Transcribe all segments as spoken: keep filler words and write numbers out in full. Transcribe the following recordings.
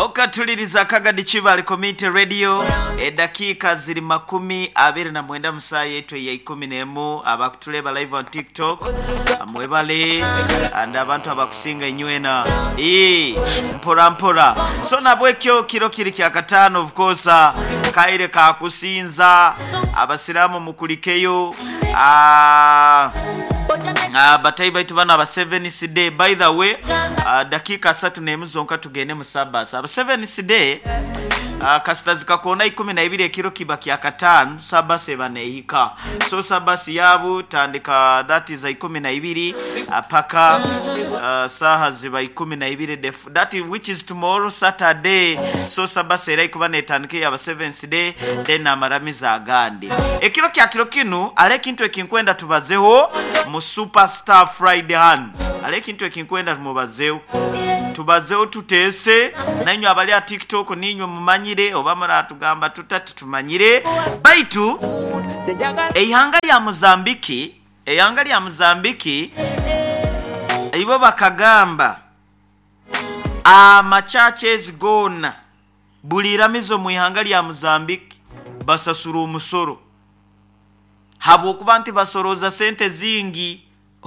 Okatuliriza Kagadi Kibale Community Radio, edakiika ziri makumi abiri na mwenda musaa yetu ya ikumi n'emu. Abakutuleba live on TikTok, mwebale, and abantu abakusinga inywena ee mpora mpora. So nabwekyo kiro kiri kya katano, of course kaire kakusinza abasiramu mukulikeyo. Ah, Uh, batayi baitu bana aba seventh day, by the way, uh, dakika asatu n'emu zonka tugende mu sabas. Aba seventh day, uh, kasita zikakona ikumi na ibiri ekiro kiba kya katano, sabas eba neihika. So sabas yabu tandika, that is ikumi na ibiri uh, paka uh, saha ziba ikumi na ibiri def, that is, which is tomorrow Saturday. So sabas era ikuba netandike aba seventh day, then amaramiza agandi ekiro kya kiro kinu. Ale kintu ekinkwenda tubazeho mu Superstar Friday han, ale kintu ekinkwenda tumubazeho, tubazeho tutese nainywe abali a TikTok, ninywe mumanyire oba muratugamba tutati tumanyire. Baitu eihanga lya Mozambiki, eihanga lya Mozambiki ibo bakagamba amachurches gona buli iramizo mu ihanga lya Mozambiki basasura omusoro, habwokuba nti basoroza sente zingi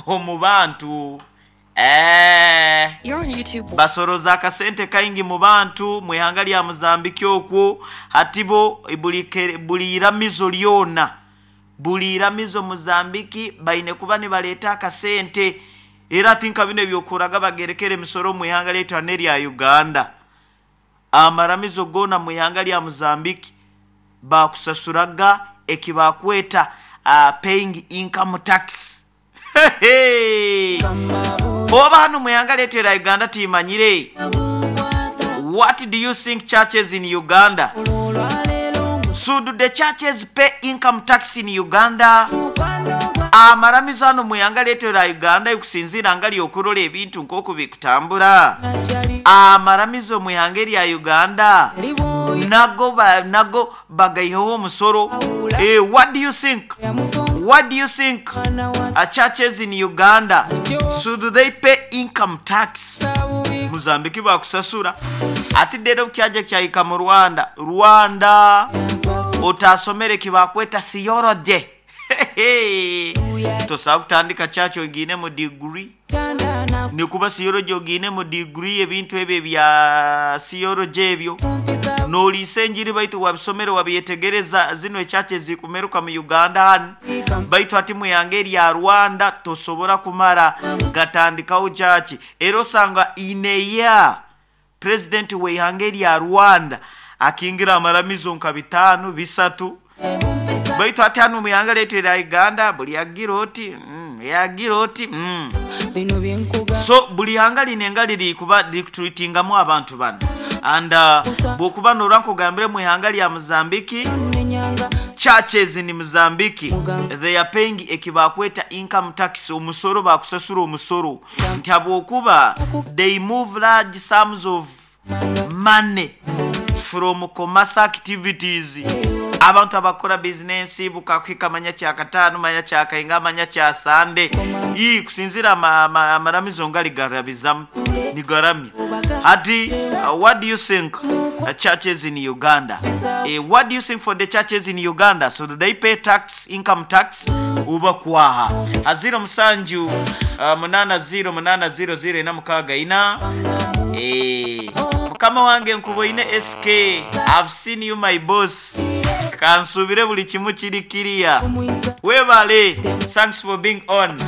omu bantu. Eh, You're on YouTube. basoroza akasente kaingi mu bantu mu ihanga lya Mozambiki okwo. Hatibo buli ke- buli iramizo lyona, buli iramizo Mozambiki baine kuba nibaleeta akasente. Era ati nka bino ebyokuraga bagerekera emisoro mu ihanga lyaitu hane erya Uganda, amaramizo gona mu ihanga lya Mozambiki bakusasuraga ekibakweta uh, paying income tax. Oba hano mu ihanga lyaitu erya Uganda timanyire. What do you think, churches in Uganda? Should the churches pay income tax in Uganda? Amaramizo hano mu ihanga lyaitu erya Uganda, ekusinziira nga lyokurola ebintu nk'oku bikutambura, amaramizo mu ihanga erya Uganda nago ba, nago bagaiheho omusoro. Eh, what do you think? What do you think, uh, churches in Uganda, should they pay income tax? Mozambiki bakusasura ati rero kyaja kyahika mu Rwanda. Rwanda otasomere kibakweta theology, tosobola kutandika church ogiine mu degree, nikuba theology ogiine mu degree, ebintu ebyo ebya theology ebyo noliisa enjiri, baitu wabisomere wabyetegereza. Zino ekyaki ezikumeruka mu Uganda hano, baitu ati muyange erya Rwanda tosobora kumara gatandikaho church. Era osanga ineya president weihanga erya Rwanda akingira amaramizo nka bitano bisatu, baitu ati hano muyanga lyaitu erya Uganda buli agira oti mm, yagira oti mm. Bino byenkuga. So buli hanga lino enga liri kuba likutuitingamu abantu bano, and uh, bwokuba nora nkugambire mu ihanga lya Mozambiki, nenyanga churches in Mozambique, they are paying ekibakweta income tax, omusoro, bakusasura omusoro nti habwokuba they move large sums of money from commerce activities. Abantu abakora bizinensi bukakwika manya kyakataano, manya kyakainga, manya kya sande, ii kusinzira ama- ama- amaramizo ngali garabizamu nigaramya. Ati uh, what do you think, uh, churches in Uganda, eh, what do you think for the churches in Uganda? So do they pay tax, income tax? Uba kwaha aziro musanju uh, munana ziro munana ziro ziro ina mukaga ina. Eh, mukama wange nkuboine S K, I've seen you, my boss. Kansubire buli kimu kiri kiriya. Omwiza. Webale, thanks for being on.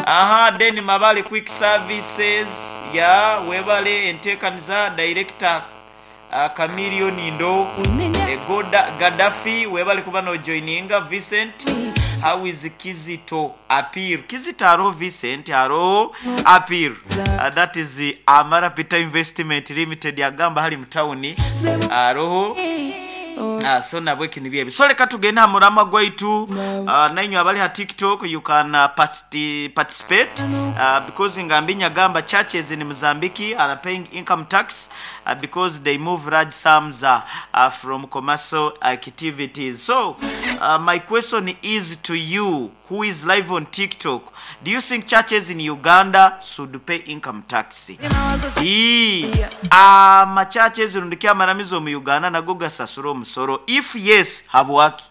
Aha, then Mabale Quick Services ya webale entekaniza director uh, Camilio Nindo. Unenya. E, Goda, Gaddafi, webale kuba no joininga. Vincent, how is Kizito appear? Kizito aro, Vincent aro appear. Uh, that is the Amara Peter Investment Limited yagamba hali mutawuni aroho. Ah, so nabwe kini byebi. So leka tugende ha murama gwaitu. uh, nainywe abali ha TikTok, you can uh, participate participate uh, because ngambi nyagamba churches in Mozambique are paying income tax uh, because they move large sums uh, uh, from commercial activities. So Uh, my question is to you who is live on TikTok. Do you think churches in Uganda should pay income tax? Ii, ama churches rundi amaramizo mu Uganda nago gasasura omusoro. If yes, habwaki?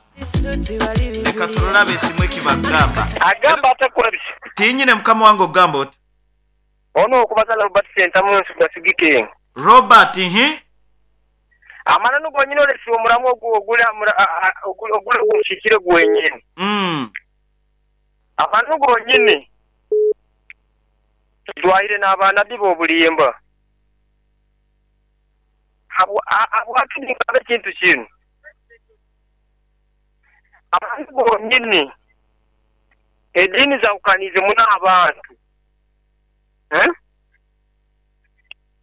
Leka turolabe esimu ekibagamba. Agamba atakurabisa. Tinyine mukama wange ogamba oti. Ono okubazala Robert Sentamu nsigasigike. Robert, hi? Amana nugo nyine olesi omuramu ogula ogula ogushikire gwenyine. Mm. Amana nugo nyine tudwaire n'abaana bibo obulimba. Abo abo atindika ekintu kino. Abantu bonyine edini zawukanize muna abantu. Eh?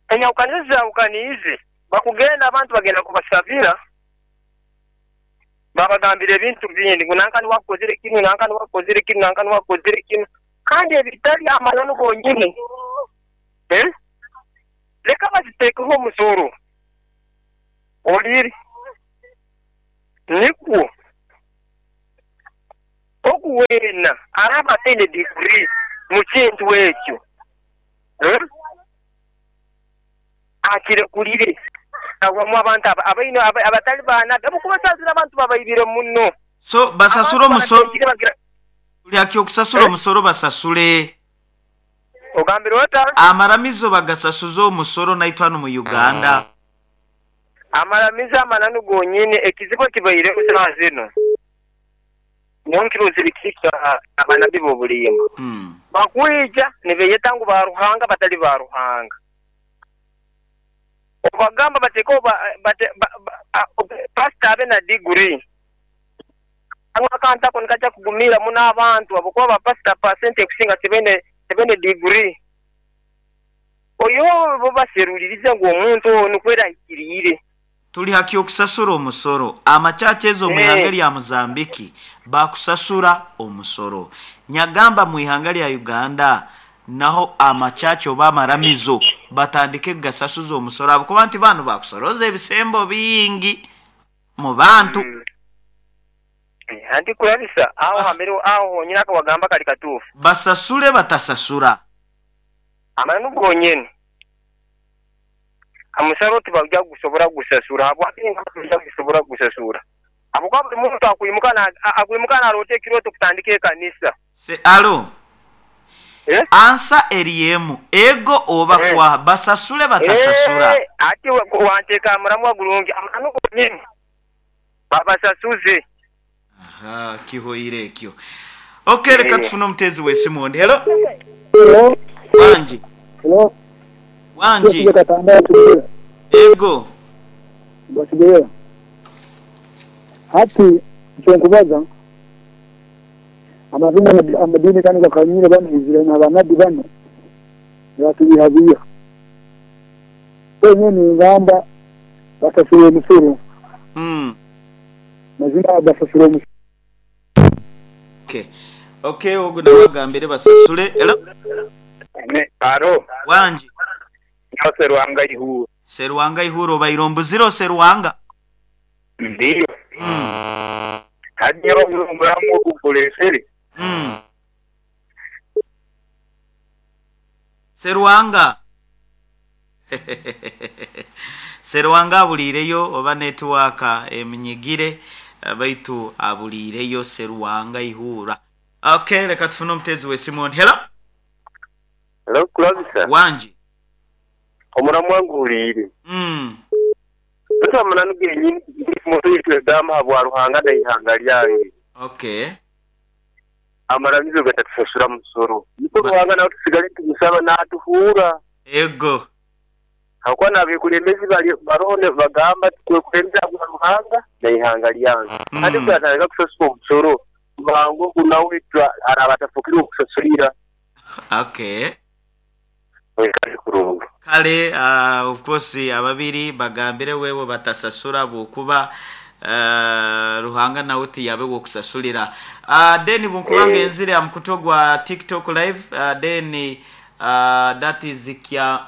Enyawukanize zawukanize bakugenda abantu bagenda kubasabira babagambira ebintu bindi ngu nankani wakozire kinu nankani wakozire kinu nankani wakozire kinu kandi ebitali amananu gonyine. Eh? Leka baziteekeho omusoro oliri nikwo okuwena araba tene degree mu kintu ekyo. Eh? Akire kulire awamu abantu abaino abatali bana abukubasazira abantu babayibire muno. So basasura omusoro lyaki okusasura omusoro basasule ogambire ota amaramizo bagasasuza omusoro naitwano mu Uganda. Amaramizo amananu gonyine ekizibu kibaire kusaba zino nyonkiro zirikika abana bibo bulima. Mm. Bakwija nibeyeta ngu ba Ruhanga batali ba Ruhanga. Obagamba bateko ba pastor abe na degree. Angwa kanta ko nikacha kugumira muna abantu abakuba ba pastor percent ekusinga sebene sebene degree. Oyo bo baseruliriza ngo omuntu ono kwera ikirire. Tuli haki okusasura omusoro. Amachachezo mu ihanga lya Mozambiki bakusasura omusoro. Nyagamba mu ihanga lya Uganda naho amachacho bamaramizo batandike gasasuza omusoro abakuba nti bano bakusoroza ebisembo bingi mu bantu. Mm. Anti kurabisa aho Bas... hamero aho nyina akawagamba kali katufu. Basasule batasasura. Amanu gonyene. Amusaro tibajja gusobora gusasura abwaki ngabajja gusobora gusasura. Abuka buli muntu akuyimuka na akuyimuka na rote kiroto kutandika ekanisa. Se alo. Eh? Ansa eriemu ego oba eh. Kwa basasule batasasura. Eh, ati wanteka muramu gulungi amanu gonyene. Babasasuze. Aha, kihoire ekyo. Okay, leka tufune omutezi w'essimu ondi. Hello. Hello. Wanji. Hello. Wanji. Ego. Basigeyo. Hati kyenkubaza amazina amadini kanu gakanyire bano izire n'abanabbi bano batubihabiya. Wenyine ngamba basasura omusoro. Mm. Mazina basasura omusoro. Okay. Okay, ogu nawagambire basasule. Hello. Ne aro. Wanji. Serwanga Ihuro. Serwanga Ihuro bairombuziro Serwanga. Ndiyo. Mm. Hadi omuramu ogukulesere. Mm. Serwanga. Serwanga abulireyo oba network eminyigire baitu abulireyo Serwanga Ihura. Okay, leka tufune omutezi w'essimu. Hello. Hello, Kulabisa. Wanji. Omuramu wanguliire. Mm. Tutamana nugenyini moto yitwegamba bwa Ruhanga na ihanga lyange. Okay. Amaramizo gatatusasura musoro. Niko Ruhanga nawe tusigale tumusaba natuhura. Ego. Hakuwa n'abekulembezi bali barone bagamba twekulembeza bwa Ruhanga na ihanga lyange. Mm. Ate twatandika kusasura omusoro bango kunawe arabatafukira okusasulira. Okay. Wekali kurungu. Kale uh, of course ababiri bagambire wewe batasasura bukuba uh, Ruhanga nawe tiyabe wokusasulira. Uh, then bunkubanga Eh. enzire ya mkuto gwa TikTok live uh, then uh, that is kya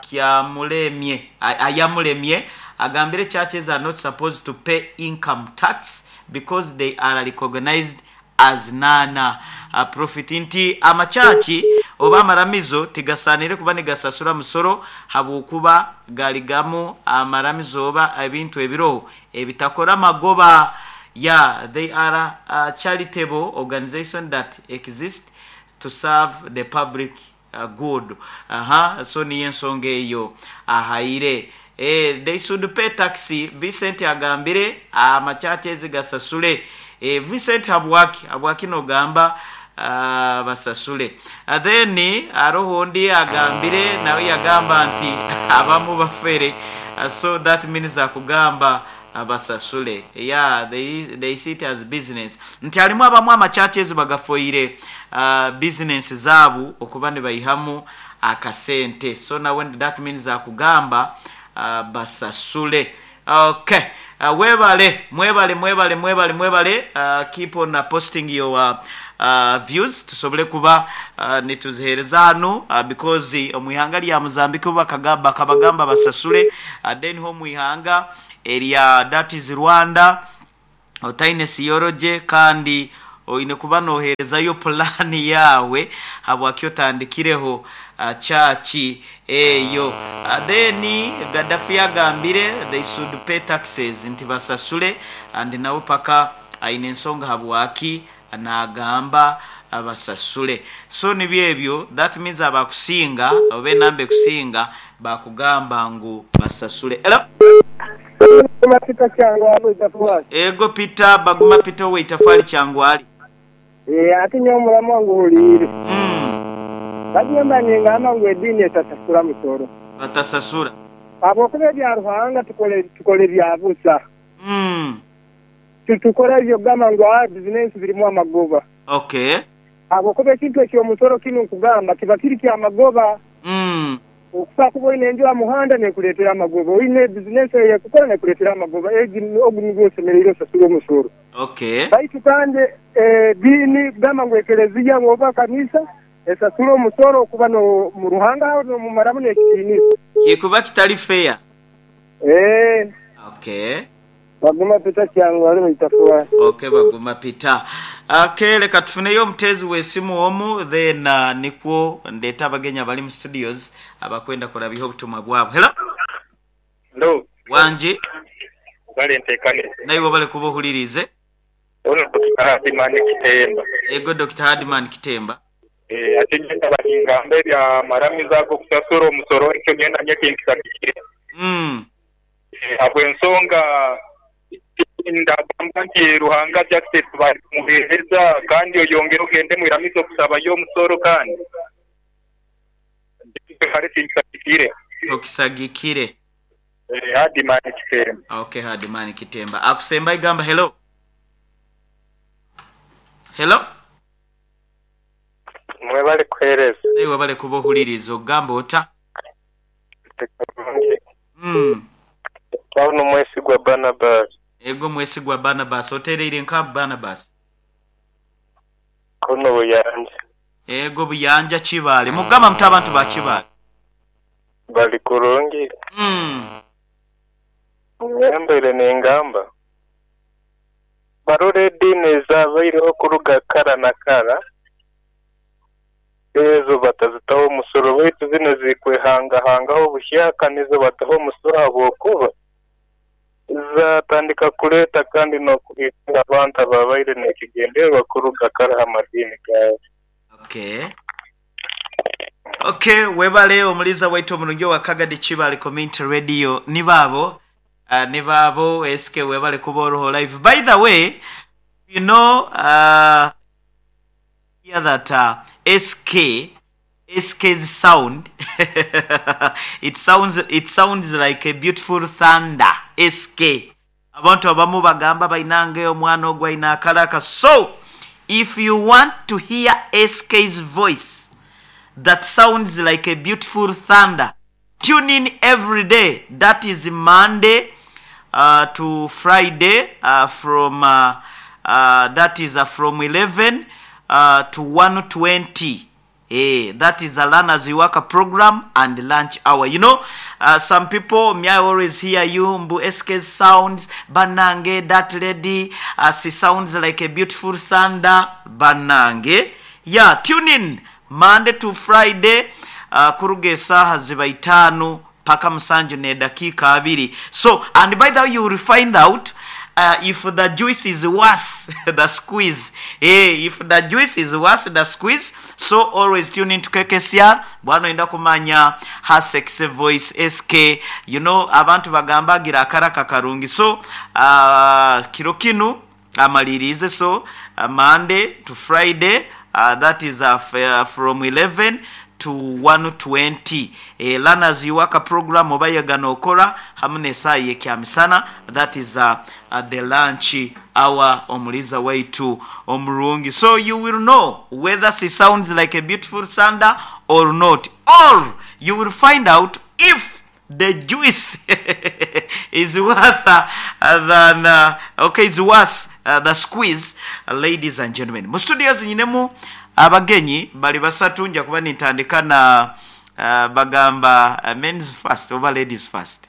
kya mulemye ayamulemye agambire churches are not supposed to pay income tax because they are recognized as non uh, profit. Nti amakyaki oba amaramizo tigasanire kuba nigasasura musoro, habwokuba galigamu amaramizo oba ebintu ebiroho ebitakora magoba. Yeah, they are a charitable organization that exist to serve the public uh, good. Aha, so niyo ensonga eyo ahaire. Eh, they should pay tax. Vincent agambire amakyaki ezigasasule. Eh, Vincent, habwaki habwaki nogamba uh, basasule? uh, then aroho ondi agambire, nawe yagamba nti abamu bafere, uh, so that means akugamba basasule. Yeah, they, they see it as business, nti harimu abamu amachurches bagafoire uh, business zaabu okuba nibaihamu akasente. So nawe that means akugamba uh, basasule. Okay, uh, webale, mwebale, mwebale, mwebale, mwebale. uh, keep on uh, posting your uh, uh, views, tusobole kuba uh, nituzihereza hano, uh, because omu ihanga lya Mozambique bakabagamba basasule, uh, then ho mu ihanga erya, that is Rwanda, otaine siyoroje kandi oine kuba noherezayo pulani yawe habwaki otandikireho uh, church eyo. uh, then Gaddafi agambire they should pay taxes, nti basasule, and nawe paka aine ensonga habwaki nagamba abasasule. So nibyo ebyo, that means abakusinga oba enamba ekusinga bakugamba ngu basasule. Hello? Peter Kyangwali, Itafwali. Ego Peter Baguma, Peter we Itafwali Kyangwali. Eh, ate nyo omulamu wange ohuliire. Mm. Bagamba ningamba ngu eddiini etasasula musoro. Batasasura. Habwokuba ebya Ruhanga tukole tukole ebya busa. Mm. Tutukora ebyo kugamba ngu ah bizinensi zirimu amagoba. Okay. Habwokuba ekintu eky'omusoro kinu nkugamba kiba kiri kyamagoba. Mm. Okufa kuba oine enju aha muhanda nekuleetera amagoba, oine bizinensi eyekukora nekuleetera amagoba, egi ogu nigwo osemereire osasura omusoro. Okay. Baitu kandi ediini kugamba ngu ekereziya oba kanisa esasura omusoro okuba no mu Ruhanga aho nomumaramu n'ekitiinisa. Kikuba kitali fair. Eh. Okay. Baguma Peter Kyangwali, Itafwali. Okay, Baguma Peter. Okay, leka tufuneyo omutezi w'esimu omu, then uh, nikwo ndeeta abagenyi abali mu studios abakwenda kurabiho obutumwa bwabo. Hello? Hello. Wangi? Bale ntekane. Naiwe bale kuba ohulirize. Ono Doctor Hadiman Kitemba. Ego Doctor Hadiman Kitemba. Eh, ate ngenda balingamba ebya maramiza ago kusasura omusoro, ekyo ngenda nyekinkisakikire. Mm. Eh, habw'ensonga ndagamba nti Ruhanga justice bali kumuheereza, kandi oyongere ogende mwiramizo okusabayo omusoro, kandi kale tinkisagikire. Tokisagikire. Eh, Hadiman Kitemba. Okay, Hadiman Kitemba. Akusemba igamba hello. Hello? Mwebale kuheereza. Naiwe bale kuba ohuliriza, ogamba ota? Mm. Paulo Mwesigwa Barnabas. Ego Mwesigwa Barnabas, otereire nka Barnabas. Kuno Buyanja. Ego Buyanja Kibaale. Mugamba muti abantu ba Kibaale? Bali kurungi. Mm. Nyambaire nengamba barora ediini ezabaireho kuruga kara na kara ezo batazitaho omusoro, baitu zino zikwehangahangaho buhyaka nizo bataho omusoro, habwokuba zatandika kuleeta kandi n'okuhikira abantu ababaire n'ekigendererwa kuruga kara ha madiini gaabo. Okay. Okay, webale omuliza waitu omurungi wa Kagadi Kibaale Community Radio. Ni baabo uh, ni baabo S K, webale kuba oroho live. By the way, you know uh, hear that uh, S K S K's sound, it sounds it sounds like a beautiful thunder. S K, abantu abamu bagamba bainange omwana ogwo aina akalaka. So if you want to hear S K's voice that sounds like a beautiful thunder, tune in every day, that is Monday uh, to Friday, uh, from uh, uh, that is uh, from eleven uh, to one twenty. Eh, that is a learners worker program and lunch hour. You know, uh, some people, me, I always hear you, Mbu S K sounds, Banange, that lady, uh, she sounds like a beautiful thunder, Banange. Yeah, tune in Monday to Friday, uh, kuruga esaaha ziba itaano paka musanju nedakiika abiri. So, and by the way, you will find out uh, if the juice is worse the squeeze, eh, if the juice is worse the squeeze. So always tune in to K K C R bwana enda kumanya her sexy voice S K. You know, abantu bagamba agira akaraka karungi. So uh, kiro kinu amalirize. So uh, Monday to Friday, uh, that is uh, f- uh, from eleven to one twenty, eh, learners iwaka program oba yegana okora hamu n'esaaha yekyamisana, that is uh, uh, the lunch hour, omuliza waitu omurungi. So you will know whether she sounds like a beautiful thunder or not, or you will find out if the juice is worth uh, than uh, okay, is worse uh, the squeeze. Uh, ladies and gentlemen, mu studios nyinemu abagenyi bali basatu. Nja kuba nintandika na uh, bagamba uh, men's first oba ladies first?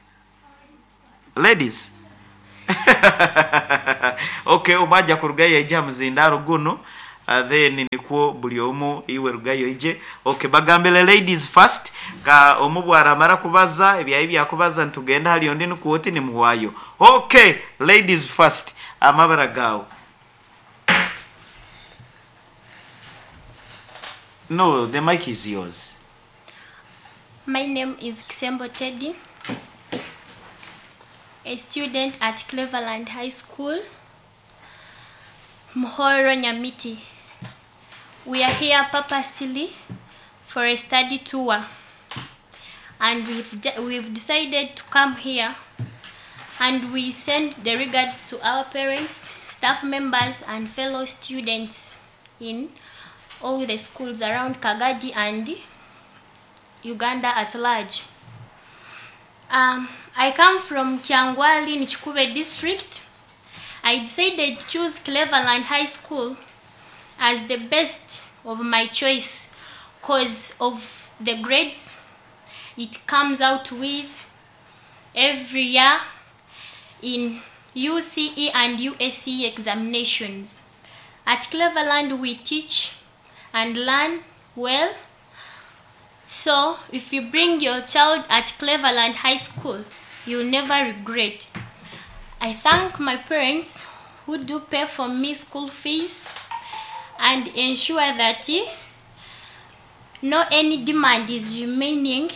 Ladies, okay. Omwajja kurugayo yaija muzindaro guno, uh, then nikwo buli omu iwe rugayo ije. Okay, bagambire ladies first. Ka omu bwaramara kubaza ebyayi byakubaza ntugenda hali ondi nikuwoti nimuwayo. Okay, ladies first, amabara gawe? No, the mic is yours. My name is Kisembo Teddy, a student at Cleveland High School, Muhoro Nyamiti. We are here purposely for a study tour, and we've, de- we've decided to come here, and we send the regards to our parents, staff members, and fellow students in all the schools around Kagadi and Uganda at large. Um, I come from Kyangwali in Kikuube district. I decided to choose Cleveland High School as the best of my choice because of the grades it comes out with every year in U C E and U S E examinations. At Cleveland, we teach and learn well. So, if you bring your child at Cleveland High School, you'll never regret. I thank my parents who do pay for me school fees and ensure that eh, no any demand is remaining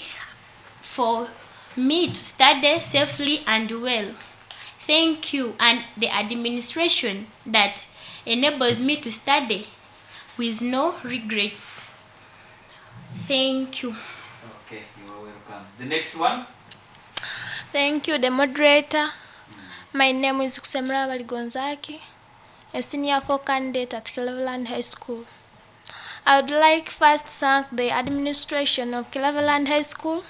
for me to study safely and well. Thank you and the administration that enables me to study with no regrets. Thank you. Okay, you are welcome. The next one. Thank you, the moderator. My name is Kusemra Baligonzaki, a senior four candidate at Cleveland High School. I would like first thank the administration of Cleveland High School,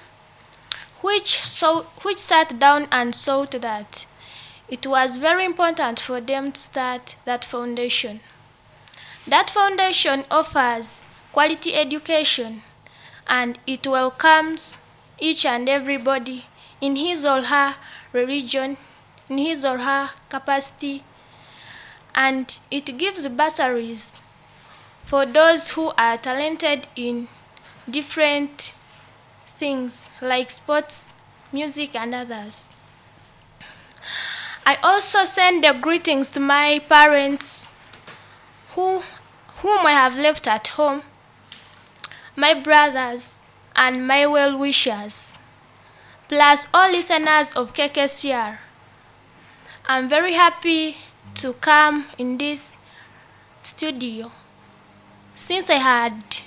which, so, which sat down and thought that it was very important for them to start that foundation. That foundation offers quality education and it welcomes each and everybody in his or her religion, in his or her capacity, and it gives bursaries for those who are talented in different things like sports, music, and others. I also send the greetings to my parents who, whom I have left at home, my brothers, and my well wishers, plus all listeners of K K C R. I'm very happy to come in this studio. Since I had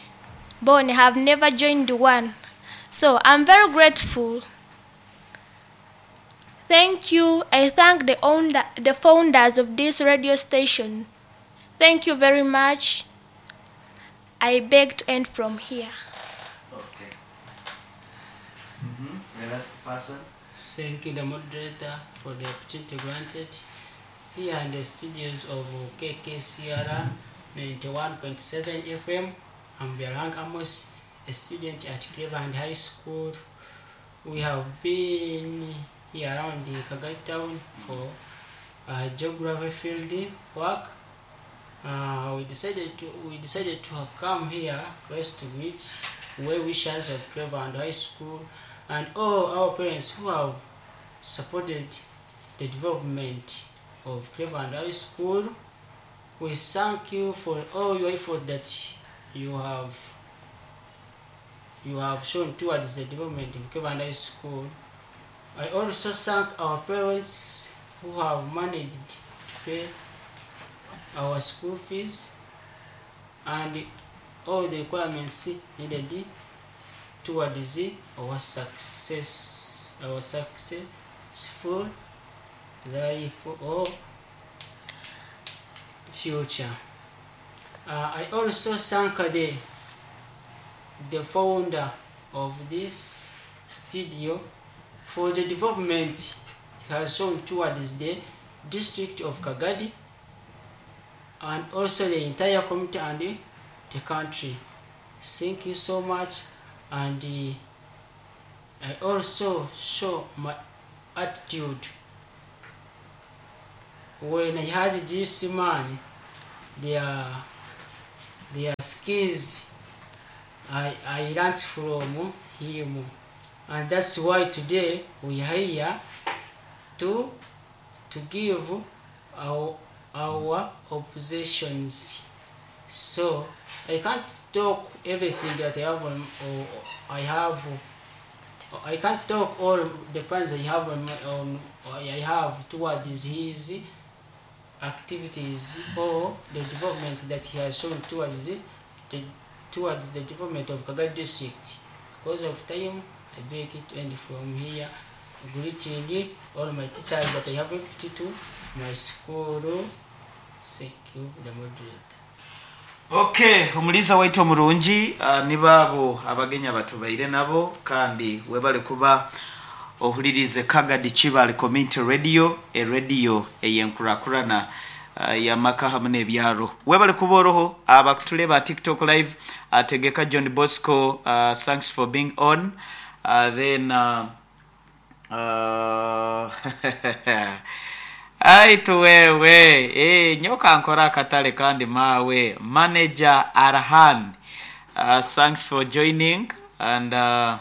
born, I have never joined one. So I'm very grateful. Thank you. I thank the owner, the founders of this radio station. Thank you very much. I beg to end from here. Okay. Mm-hmm. The last person. Thank you, the moderator, for the opportunity granted. Here in the studios of K K C R ninety-one point seven F M, I'm Berang Amos, a student at Cleveland High School. We have been here around the Kagadi town for uh, geography field work. Uh, we decided to we decided to come here close to greet well wishers of Cleveland High School and all our parents who have supported the development of Cleveland High School. We thank you for all your effort that you have you have shown towards the development of Cleveland High School. I also thank our parents who have managed to pay our school fees and all the requirements needed towards our success our successful life or future. Uh, I also thank the, the founder of this studio for the development he has shown towards the district of Kagadi and also the entire community and the, the country. Thank you so much, and uh, I also show my attitude when I had this man, their their skills I, I learned from him, and that's why today we are here to to give our our oppositions. So I can't talk everything that I have on, or I have. I can't talk all the plans I have on, my, on I have towards his activities or the development that he has shown towards the, the towards the development of Kagadi district. Because of time, I beg it to end from here. Greeting all my teachers that I have to my school. Thank you, the moderator. Okay, omuliisa waitu omurungi uh, nibaabo abagenya batubaire nabo kandi webale kuba ohulirize Kagadi Kibaale Community Radio, eradio eyenkurakurana uh, yamaka hamu n'ebyaro. Webale kuba oroho abakutuleba TikTok live, ategeka John Bosco, uh, thanks for being on. Uh, then uh, uh, aitu wewe eh, nyoka nkora akatale kandi mawe manager Arhan, uh, thanks for joining, and uh,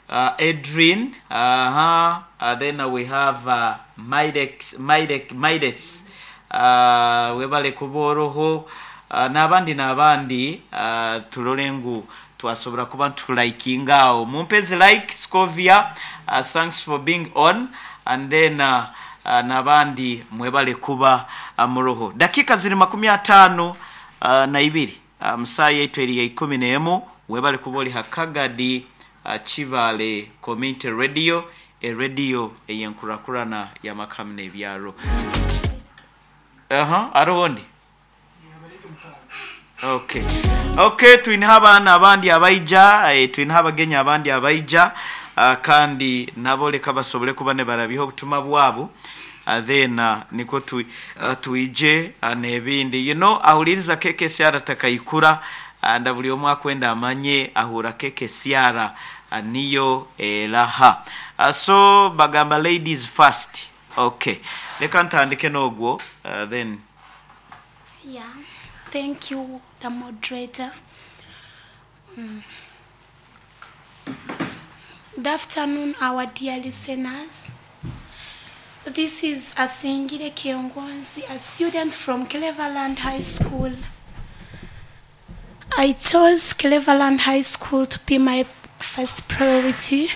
uh, Adrian, uh-huh. uh, then uh, we have uh, Midex, Midek, Mides, uh, webale kuba oroho, uh, n'abandi n'abandi, uh, turole ngu twasobora kuba ntulaikinga awo mumpezi like Scovia, uh, thanks for being on, and then uh, uh, n'abandi mwebale kuba uh, muroho. Dakika ziri makumi atano uh, na ibiri, uh, musaa yaitu eri ya ikumi n'emu. Webale kuba oli ha Kagadi uh, Kibaale Community Radio, eradio eyenkurakurana y'amakamu n'ebyaro. Aha aroho ndi. Okay, okay, twineho abaana abandi abaija, eh, twineho abagenyi abandi abaija, uh, kandi nabo leka basobole kuba ne barabiho obutumwa bwabo, uh, then uh, niko tu, uh, twije uh, n'ebindi. You know ahuliriza K K C R takaikura, uh, buli omu akwenda amanye ahura K K C R uh, niyo eraha. uh, so bagamba ladies first. Okay, leka ntandike n'ogwo, uh, then Yeah, thank you, the moderator. Mm. Good afternoon, our dear listeners. This is Asingire Kiongonzi, a student from Cleveland High School. I chose Cleveland High School to be my first priority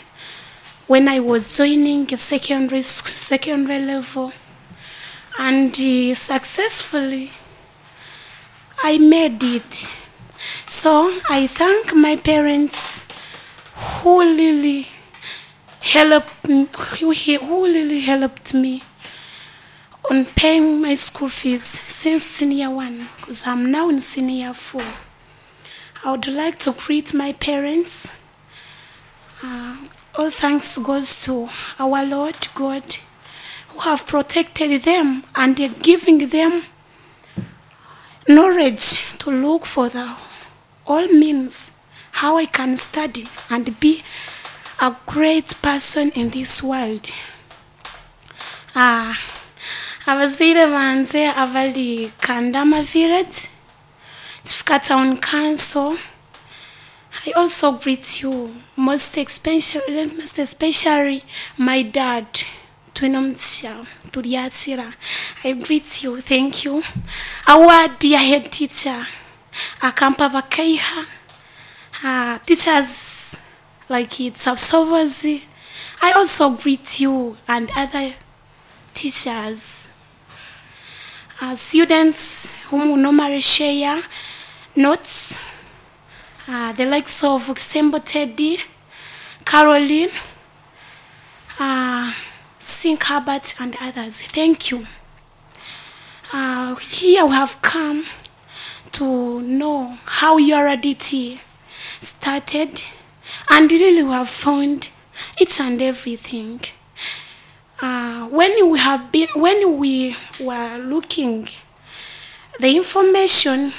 when I was joining secondary, secondary level, and uh, successfully I made it. So I thank my parents who really helped me, who who really helped me on paying my school fees since senior one, because I'm now in senior four. I would like to greet my parents. Uh, all thanks goes to our Lord God, who have protected them and giving them knowledge to look for the all means how I can study and be a great person in this world. Ah, abazaire banze abali Kandama village, Kifuka Town Council. I also greet you, most especially, most especially my dad, Twinomugisha Turyatira. I greet you, thank you. Our dear head teacher, Akampa Bakaiha, uh, teachers like it's Absobozi. I also greet you and other teachers, uh, students whom we normally share notes, uh, the likes of Sembo Teddy, Caroline, uh, Sink Herbert, and others. Thank you. Uh, here we have come to know how U R D T started, and really we have found each and everything. Uh, when we have been, when we were looking the information,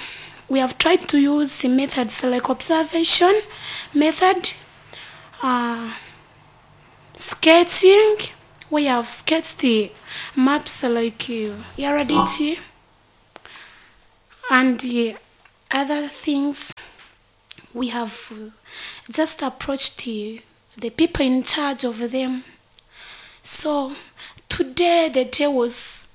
we have tried to use the methods like observation method, uh, sketching. We have sketched the maps like uh, U R D T and the other things. We have uh, just approached the, the people in charge of them. So today the day was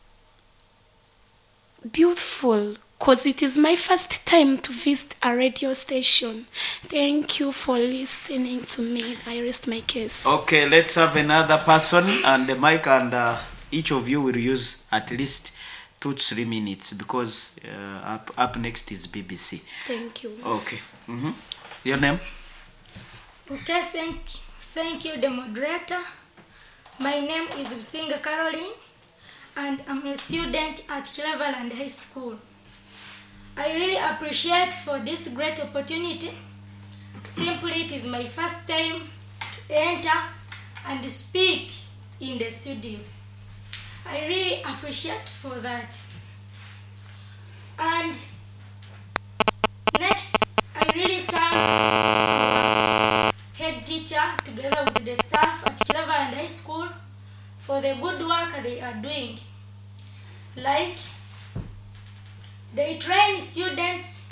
beautiful because it is my first time to visit a radio station. Thank you for listening to me. I rest my case. Okay, let's have another person and the mic, and uh, each of you will use at least two to three minutes because uh, up, up next is B B C. Thank you. Okay. hmm Your name? Okay, thank, thank you, the moderator. My name is Businga Caroline, and I'm a student at Cleveland High School. I really appreciate for this great opportunity. Simply, it is my first time to enter and speak in the studio. I really appreciate for that. And next, I really thank our head teacher together with the staff at Cleveland High School for the good work they are doing. Like, they train students